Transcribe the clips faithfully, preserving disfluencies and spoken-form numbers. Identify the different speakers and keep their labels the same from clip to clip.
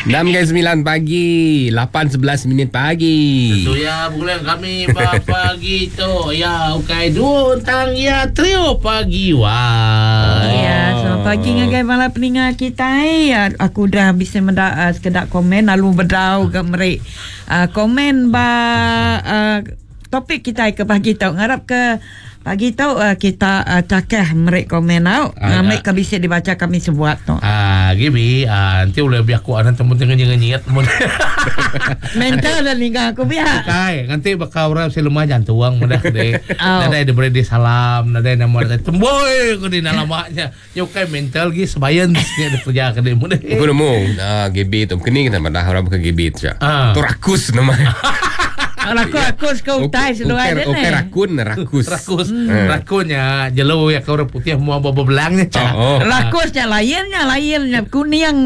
Speaker 1: Enam ke sembilan pagi, lapan sebelas minit pagi.
Speaker 2: Tentu ya bulan kami pagi tu ya ukai dua tentang ya trio pagi wah.
Speaker 3: Ya, selamat pagi ngagai bala peninga kita. Aku dah bisa mendak uh, sekedak komen lalu bedau ke merik uh, komen ba uh, topik kita ke pagi tu. Ngarap ke pagi tu uh, kita uh, cakah merik komen au.
Speaker 2: Ah,
Speaker 3: Ngamik ke bisa dibaca kami sebuat tu.
Speaker 2: Ah, gibi ah, nanti boleh biar aku anak temu tengah nyengat mun.
Speaker 3: Mental dan hingga aku biar.
Speaker 2: Kai, nanti bakal orang si lemah jantung mudah deh.
Speaker 3: Oh.
Speaker 2: Nadai diberi di salam, nadai nama nadai temboy ku di nalamanya. Nyukai mental gi sebayan ni ada kerja ke dia mudah.
Speaker 1: Aku nemu ah, G B tu. Kini kita madah orang ke G B tu.
Speaker 2: Ah.
Speaker 1: Tu rakus nama.
Speaker 3: Aku aku suka utai seduai dia
Speaker 1: Okey
Speaker 3: ni.
Speaker 1: rakun rakus.
Speaker 2: Rakus,
Speaker 1: Hmm.
Speaker 2: rakunnya jelu ya kau orang putih mau bawa belangnya cak.
Speaker 1: Oh, oh.
Speaker 3: Rakusnya lainnya lainnya kuning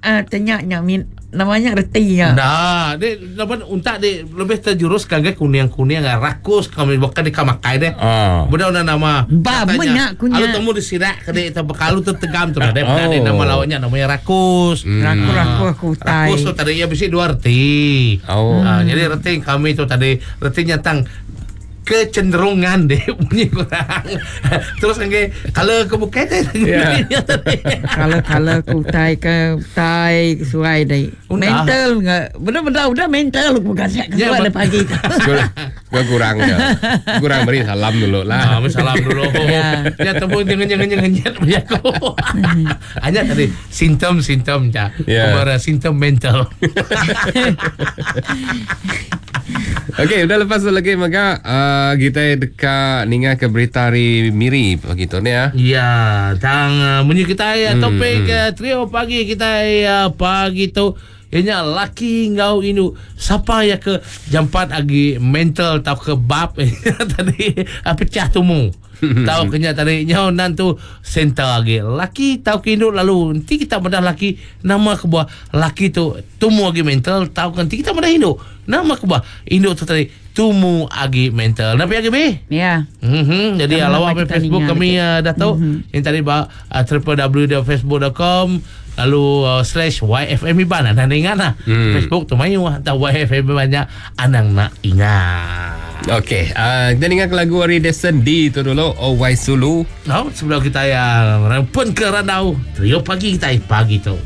Speaker 3: ah tenyaknya min namanya retinya.
Speaker 2: Nah, dia laban untak dia lebih terjurus kagak kuning-kuning rakus kami bukan di kamakai deh.
Speaker 1: Ah.
Speaker 2: Benda una nama.
Speaker 3: Ba,
Speaker 2: Katanya,
Speaker 3: banyak kunya.
Speaker 2: Alu temu di sirak ke dia bekalu tu tegam tu dah. Dia
Speaker 1: Oh.
Speaker 2: oh. nama lawannya namanya rakus.
Speaker 1: Hmm.
Speaker 3: Raku raku aku utai.
Speaker 2: Rakus tu tadi ya bisi dua reti.
Speaker 1: Oh.
Speaker 2: Ah, jadi reti kami tu tadi retinya tentang kecenderungan deh bunyi kurang. Terus angge kalau ke bukit
Speaker 1: Ya.
Speaker 3: Kalau kalau aku utai ke utai ke suai deh.
Speaker 2: Udah.
Speaker 3: Mental enggak. Benar-benar udah mental aku kasih ke
Speaker 2: Ya,
Speaker 3: suai
Speaker 2: ba-
Speaker 3: deh pagi tu.
Speaker 1: Gua, gua kurang ya. Kurang beri salam dulu
Speaker 2: Ah,
Speaker 1: lah.
Speaker 2: salam dulu.
Speaker 3: Ya.
Speaker 2: Ya temu jangan jangan jangan jangan aku. Hanya tadi simptom-simptom ja.
Speaker 1: Ya.
Speaker 2: Kemara simptom mental.
Speaker 1: Okey, udah lepas tu lagi maka uh, kita dekat ninga ke berita hari Miri pagi tu ni ya.
Speaker 2: Ya, tang uh, munyi kita ya
Speaker 1: Hmm,
Speaker 2: topik
Speaker 1: hmm.
Speaker 2: uh, trio pagi kita ya pagi tu ianya laki ngau inu siapa ya ke jampat agi mental tau ke bab tadi uh, pecah tumu. Tahu kenya tadi nyau nan tu center agi laki tau ke induk lalu nanti kita bedah laki nama ke buah laki tu tumu agi mental tau ke nanti kita bedah induk nama ke buah induk tu tadi tumu agi mental. Napi agi be?
Speaker 3: Ya.
Speaker 2: Mm-hmm. Jadi
Speaker 3: Sama
Speaker 2: lawak
Speaker 3: kita
Speaker 2: Facebook
Speaker 3: ninga
Speaker 2: kami
Speaker 3: lagi.
Speaker 2: uh, dah tahu mm-hmm. Yang tadi ba uh, w w w dot facebook dot com lalu uh, slash Y F M Iban anda ingat lah.
Speaker 1: Hmm.
Speaker 2: Facebook tu mayu atau Y F M banyak anang nak ingat.
Speaker 1: Okey, uh, kita dengar lagu hari Desen D tu dulu, Oh Why Sulu.
Speaker 2: No, sebelum kita yang pun ke Randau, trio pagi kita pagi tu.